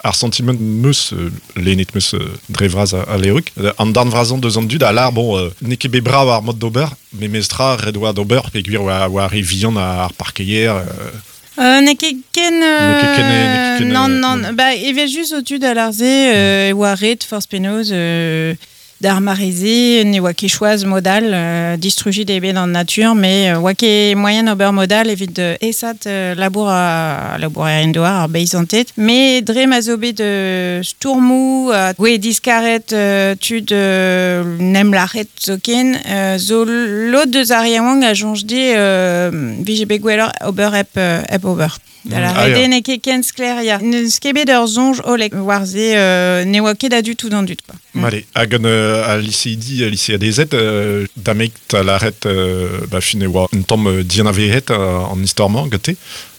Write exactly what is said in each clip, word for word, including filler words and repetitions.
Ar sentiment meus, euh, lennet meus euh, dre vras a, a leorik. An darn vrazan deus an dud a lar, bon, euh, n'eo ket bet brav ar mod d'ober, me mestra red oa d'ober, pe gwir oa, oa re vihan ar parkeier. Euh, Euh, n'eo ket ken... N'eo ket ken, n'eo ket ken, non, euh, non, non. Ba, evel just o tud a lar-se, euh, oa ret forz penaos, euh, d'ar mareze, ne oa ket choaz modal, euh, distrujit eo bet an natur, mais euh, oa ket moyen ober modal evit euh, esat euh, labour a, labour a doar ar beizantet. Mais dre ma zo bet euh, stourmou, a gwe diskaret euh, tud euh, nem lac'het zoken, euh, zo lod deus ar yaouank a soñj de euh, vije bet gwelloc'h ober hep, euh, hep ober. Da la Ah, ya. rede n'eo ket ken sklaer, ya. N'eus ket bet ur soñj hollek war se, euh, ne oa ket a-du tout an dud, quoi. Mm. Allez, hag an euh, a liseidi, a liseadezed, euh, damek ta laret, euh, ba fin e oa un tamm euh, dianavezet euh, an istor-mañ gante,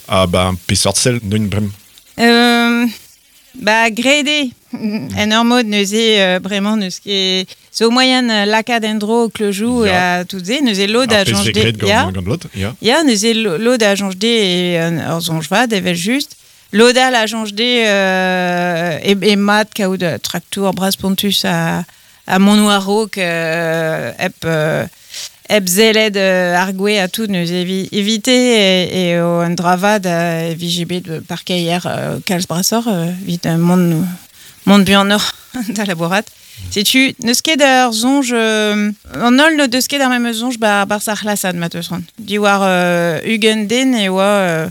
ha ba peseurt sell neun brem. Euh, ba grede, en ur mod neuze euh, bremañ neus ket zo moyen euh, lakaat en-dro kleujou Ya. a tout se, neuze lod a Ar pezh soñj vez de graet gant, ya. gant lod, ya. Ya, neuze lo- lod a soñj de e un ur soñj vat evel just. Lod all a soñj de euh, e, e mat kaout euh, traktour bras pontus a, a mont war-raok euh, hep, euh, hep zellet euh, ar gwe a tout neuze evi, evite e, e o un dra vat a vije bet euh, parkeier euh, kalz brasoc'h euh, evit euh, mont, mont buanoc'h da labourat. Setu, n'eus ket ur soñj... Euh, an holl n'o deus ket ar memes soñj bar, bar ar c'hlasad, ma teus c'hoant. Diwar euh, ugent den e oa... Euh,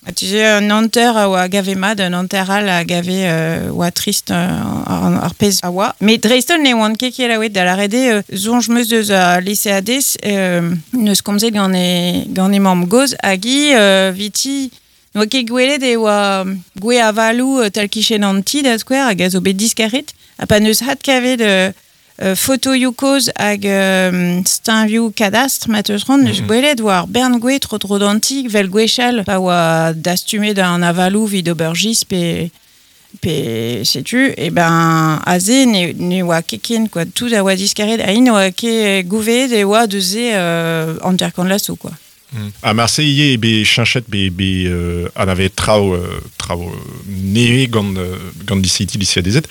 a tu sais, un hanter a oa gave mat, un hanter all a gave euh, oa trist euh, ar, ar pezh a oa. Mais dreist-holl ne oan ket kelaouet da lâret eo, euh, soñj meus deus a liseadez, euh, neus komzet gant e, gant e mamm gozh hag hi euh, viti n'oa ket gwelet e oa gwe avalou euh, tal kichen an ti da skouer hag a zo bet diskaret. Ha pa neus hat kavet euh, euh, fotoioù kozh hag euh, steuñvioù kadastr ma teus c'hoant, neus Mhm. gwelet oa ar bern gwe tro tro d'an ti vel gwechall pa oa dastumet an avalou vid ober giz pe pe setu, e ben aze ne, ne oa ket ken, quoi, tout a oa diskaret, ha int oa ket gouveet e oa deus se euh, hanter kant laso, quoi. Mm. Ha marse ivez be cheñchet be, be euh, anavezet traoù, euh, traoù euh, nevez gant, euh, gant liseidi, liseadezed,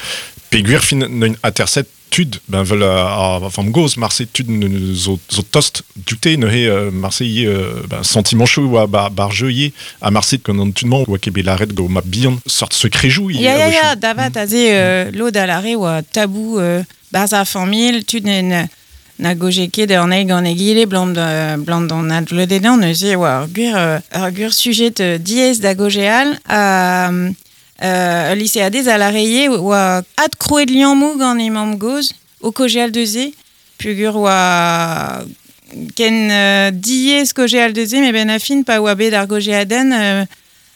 pe gwir fin neun aterset tud, ben vel a, a vamm gozh, marse tud ne- zo, zo tost dioute neuze euh, marse ivez euh, ben, sentimanchoù oa bar, bar jeu ivez, ha marse gant an tud-mañ oa ket bet lâret gant ma bihan sort sekrejoù ivez Ya, ya, a-wechoù. ya, davat aze euh, lod a lâre oa tabou euh, barzh ar familh, tud ne, na goje ket an eil gant egile, blant, euh, blant d'an advlodedan, neuze oa ur gwir, euh, ur gwir sujet euh, diaes da gojeal, ha euh, liseadez a lâre ivez oa adkrouet liammoù gant e mamm gozh, o kojeal deus se, pugur oa ken euh, diaes kojeal deus se, met ben a fin pa oa bet ar gojeadenn, euh,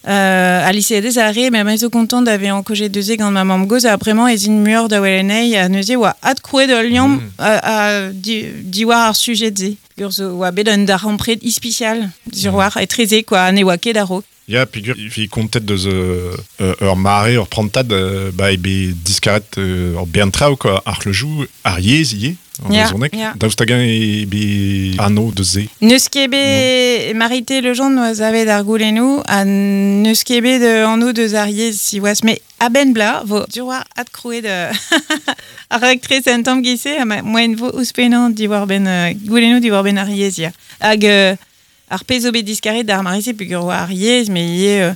Euh, a liseadez a re, me zo kontant da vezañ kojet deus se gant ma mamm gozh, ha bremañ ez int muioc'h da welet anezhi, ha neuze oa adkrouet ul liamm Mm. a, a, di, diwar ar sujet se. Ur zo oa bet un darempred ispisial, sur Mm. war etreze, quoi, ne oa ket a-raok. Ya, peogwir e vez kontet deus euh, euh, ur mare, ur prantad, euh, ba eo bet diskaret euh, ur bern traoù, quoi, ar c'hleujou, ar yezh ivez, an Ya, brezhoneg. ya. Daoust hag-eñ eo bet anv deus se. N'eus ket bet Marité Legendre noa savet ar goulennoù, ha n'eus ket bet euh, anv deus ar yezh siwazh, met a-benn bla, vo sur war adkrouet euh, ar raktres un tamm giz-se, ha ma moaien vo ouzhpennañ diwar benn euh, goulennoù diwar benn ar yezh, ya. Hag euh, ar pezh zo bet diskaret d'ar mare-se peogwir oa ar yezh, met ivez euh,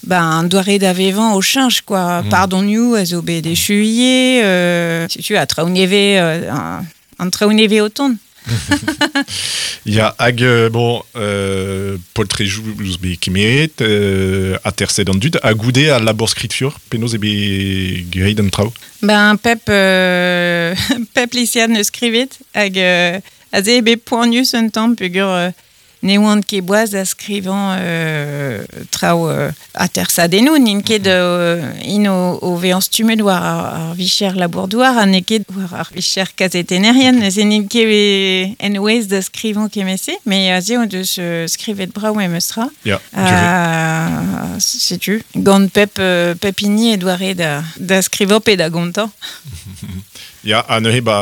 ben, doare da vevañ o cheñch, quoi. Mm. Pardonioù a zo bet echuier, euh, setu a traoù nevez, euh, an, an traoù nevez o tont. Ya, hag, euh, bon, euh, poltrejoù zo bet kemeret, euh, aterset an dud, ha goude al labour skritur, penaos eo bet graet an traoù. Ben, pep, euh, pep lisead neus skrivet, hag euh, aze eo bet poanius un tamm peogwir euh, ne oant ket boaz da skrivañ euh, traoù euh, atersadennoù, n'int ket euh, int o, o vezañ stummet war ar, ar vicher labour-douar, ha n'eo ket war ar vicher kazetennerien, neuze n'int ket en ouez da skrivañ kement-se, met aze o deus euh, skrivet brav memes tra. Ya, duré. Euh, setu, gant pep, euh, pep hini e doare da, da skrivañ pe da gontañ. Ya, ha neuze, ba,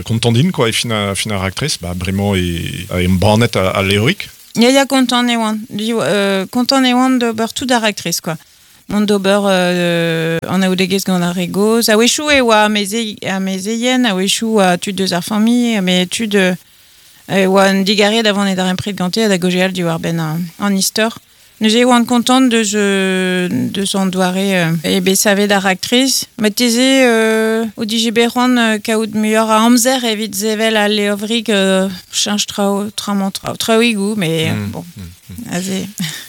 kontant int, quoi, e fin a, fin ar raktres, ba, bremañ e, e embannet al levrig. Ya, ya, kontant e oan. Div, euh, kontant e oan d'ober tout ar raktres, quoi. mont d'ober euh, an aoudegez gant ar re goz. A-wechoù e oa ameze, amezeien, a-wechoù oa tud deus ar familh, met tud euh, e oa un digarez da vont e darempred gante ha da gaozeal diwar benn an, an istor. Neuze e oan kontant deus, euh, deus an doare euh, e bet savet ar raktres. Marteze euh, o dije bet c'hoant euh, kaout muioc'h a amzer evit sevel al levrig euh, cheñch traoù, tramañ traoù, traoùigoù, mais mm, bon, mm, mm. aze.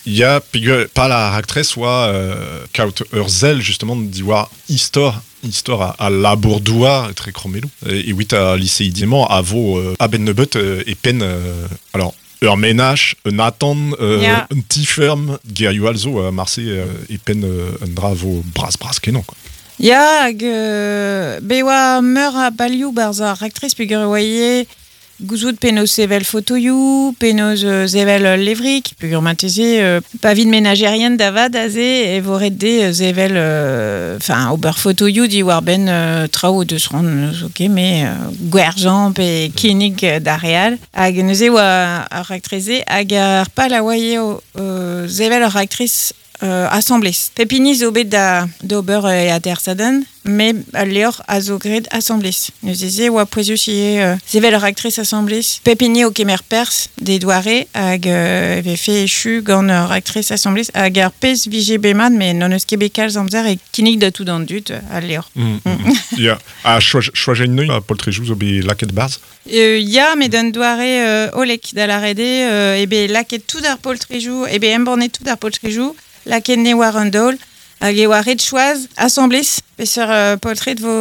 Ya, peogwir pal ar raktres oa euh, kaout ur sell justement diwar istor istor a, a labour-douar etre krommelloù. E, evit al liseidi-mañ a vo euh, a-benn nebeut euh, e penn euh, alors ur menaj, un atant, euh, Ya. un ti-ferm, gerioù all zo, euh, marse euh, e penn euh, un dra vo bras-bras kenañ, quoi. Ya, hag euh, bet oa meur a balioù barzh ar raktres peogwir e oa ivez gouzout penaos sevel fotoioù, penaos euh, sevel ul levrig, peogwir marteze euh, pa vit menajerien da vat aze e vo ret dezhe euh, sevel, enfin euh, ober fotoioù diwar-benn euh, traoù deus c'hoant n'eus ket mais euh, gwerzhañ pe kinnig euh, d'ar re all. Hag neuze oa ar raktres-se hag ar pal a oa ivez euh, sevel ur raktres euh, asambles. Pep hini zo bet da d'ober e atersadenn, met al levr a zo graet asambles. Neuze se oa pouezus ivez euh, sevel ur raktres asambles. Pep hini o kemer perzh d'e doare hag euh, e vefe echu gant ur raktres asambles hag ar pezh vije bet mat, met n'hon eus ket bet kalz amzer e kinnig da tout an dud al levr. Mm, mm. Ya, ha choaj, choajet neuze ar poltrejoù zo bet lakaet barzh? Euh, ya, met d'un doare euh, hollek da lâret eo, euh, eo bet lakaet tout ar poltrejoù, eo bet embannet tout ar poltrejoù, lakaet ne war an daol, hag e oa ret choaz asambles peseurt euh, poltred vo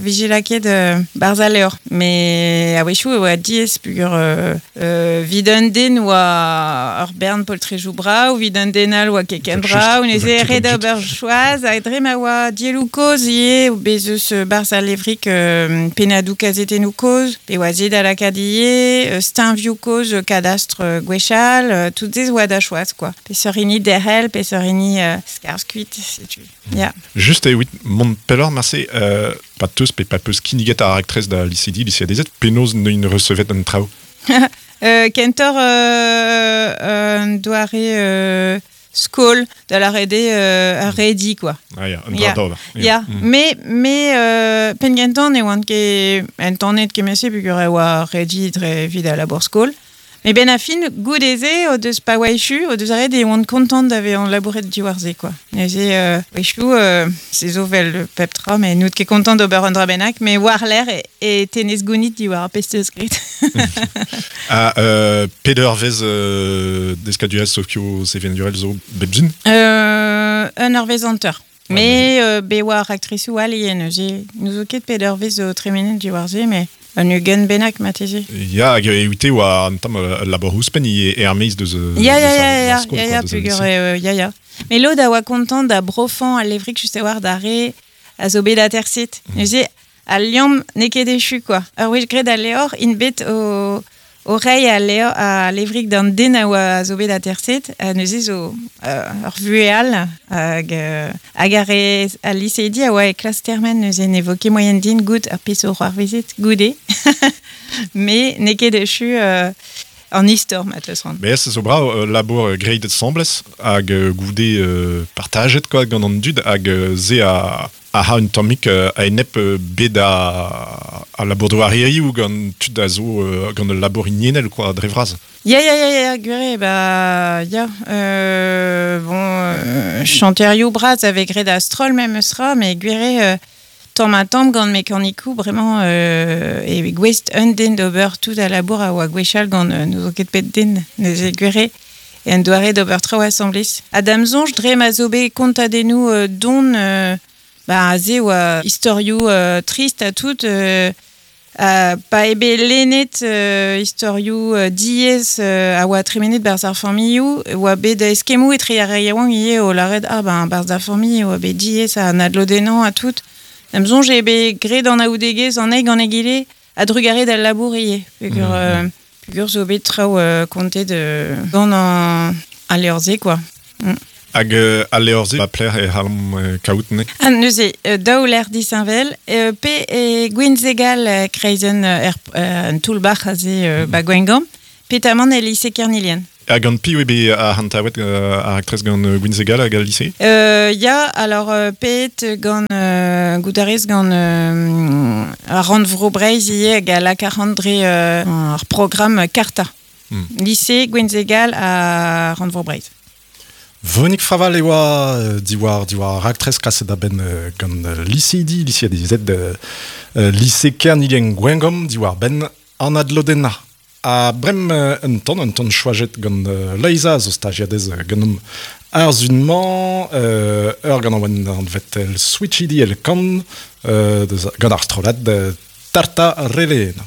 vije lakaet euh, barzh al levr. Met a-wechoù e oa diaes peogwir euh, euh, 'vit un den oa ur bern poltrejoù brav, 'vit un den all oa ket ken Just, brav, neuze just ret an dud. ober choaz, hag dre ma oa dielloù kozh ivez, bez eus euh, barzh al levrig euh, pennadoù kazetennoù kozh, pe oa se da lakaat ivez, euh, steuñvioù kozh euh, kadastr euh, gwechall, euh, tout se oa da choaz, quoi. Peseurt hini derc'hel, peseurt hini euh, skarzh kuit, setu. Ya. Just evit mont pelloc'h marse, euh, pa teus pe pa peus kinniget ar raktres da liseidi, liseadezed, penaos neuint resevet an traoù? Euh, kentoc'h euh, un doare euh, skol da lâret eo euh, ar redi, quoi. Ah ya, un dra Ya. d'ober. Ya, Mm. me, me euh, penn-gentañ ne oan ket entanet kement-se peogwir e oa redi dre evit al labour skol. Met benn ar fin, goude-se o deus pa oa echu, o deus aret e oant kontant da vezañ labouret diwar se, quoi. Neuze, euh, wechoù, euh, se zo 'vel pep tra, met n'out ket kontant d'ober un dra bennak, met war-lerc'h e, e tenez gounid diwar ar pezh 'teus graet. Ha euh, pet eurvezh euh, deskadurezh sokio sevenadurel zo bep sizhun? Euh, un eurvezh hanter. Ah, Mais euh, bet oa raktresoù all ivez neuze. N'ouzo ket pet eurvezh zo tremenet diwar se, mais un ugent bennak marteze. Ya, hag evite oa un tamm euh, labour ouzhpenn ivez er-maez deus, euh, Ya, ya, deus ya, ar, ya, ar skol, ya, quoi, ya, deus al peogwir lycée. eo, ya, ya. Met lod a oa kontant da brofañ al levrig just a-walc'h d'ar re a zo bet aterset. Mm. Neuze, al liamm n'eo ket echu, quoi. Ur wech graet al levr, int bet o, o reiñ al levr, al levrig d'an den a oa a zo bet aterset, ha neuze zo euh, ur vuhez all, hag, euh, hag ar re al liseidi a oa e klas termen, neuze ne vo ket moaien din goût ar pezh zo c'hoarvezet goude. Met n'eo ket echu euh, an istor, ma teus c'hoant. Mais se zo brav euh, labour euh, graet asambles hag euh, goude euh, partajet quoi gant an dud hag euh, se a a ha un tammig euh, a-enep euh, bet a, a labour douar hiziv gant tud a zo euh, gant ul labour hiniennel quoi dre vras. Ya, ya, ya, ya, gwir eo, ba, ya, euh, bon, euh, chanterioù bras a vez graet a-stroll memes tra, met gwir eo, euh, tamm ha tamm gant mekanikoù bremañ euh, e gouest un den d'ober tout al labour a oa gwechall gant euh, n'ouzo ket pet den, neuze gwir eo, e un doare d'ober traoù asambles. Ha da'm soñj dre ma zo bet kontadennoù euh, don, euh, ba, aze oa istorioù euh, trist ha tout, euh, Uh, pa eo bet lennet euh, istorioù euh, diaes euh, a oa tremenet barzh ar familhoù, oa bet eskemmoù etre ar re yaouank ivez o lâret ah ben barzh ar familh oa bet diaes ha an adlodennañ ha tout. Da'm soñj eo bet graet an anaoudegezh an eil gant egile a-drugarez d'al labour ivez. Peogwir, Mmh. euh, peogwir zo bet traoù euh, kontet euh, gant an, al levr-se, quoi. Mm. Hag euh, al levr-se ba pelec'h e c'hallomp euh, kaout ne? Ah, neuze, euh, daou lec'h disheñvel, euh, pe e Gwinzegal euh, kreizenn euh, er, euh, an toull-bac'h aze euh, ba Gwengamp, petamant e lise Kernilian. Hag an piv eo bet a hantaouet euh, ar aktrez gant euh, Gwinzegal hag al lycée? Euh, ya, alors euh, pet gant euh, goudarez gant euh, ar rannvro Breizh ivez hag a lak ar dre euh, ar programme Carta. Hmm. Lycée Gwinzegal a rannvro Breizh. Véronique Fraval e oa euh, diwar diwar ar aktrez kaset a-benn euh, gant euh, lycéidi, lycée adizet euh, euh, lycée Kernilien Gwengom diwar benn an adlodenna. A brem euh, un ton, un ton choajet gant euh, Loeiza zo stagiadez euh, ganom ar zunmañ euh, ur gant an an vet el switchidi el kan euh, deus- gant ar strollad euh, Tarta Relena.